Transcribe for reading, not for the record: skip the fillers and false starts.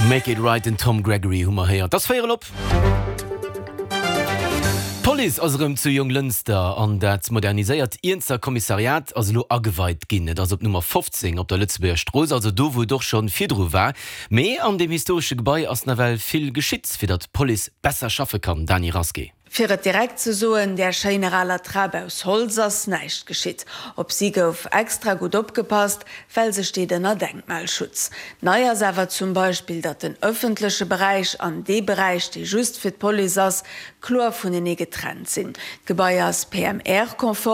Make it right, den Tom Gregory hu mer héiert. Et ass véierel op. D'Police ass erëm zu Jonglënster an dat moderniséiert Iernzer Kommissariat ass elo ageweit ginn. Et ass op Nummer 15 op der Lëtzebuerger Strooss, also do wou et och scho virdru war. Mee an deem historesche Gebai ass nawell vill geschitt, fir datt d'Police besser schaffe kann. Dany Rasqué. Fir et direkt ze soen, där schéiner aler Trap aus Holz ass näischt geschitt. Op si gouf extra gutt opgepasst, well se steet ënner Denkmalschutz. Nei ass awer zum Beispill, datt den ëffentleche Beräich an dee Beräich, dee just fir d'Police ass, kloer vunenee getrennt sinn. D'Gebai ass PMR-konform.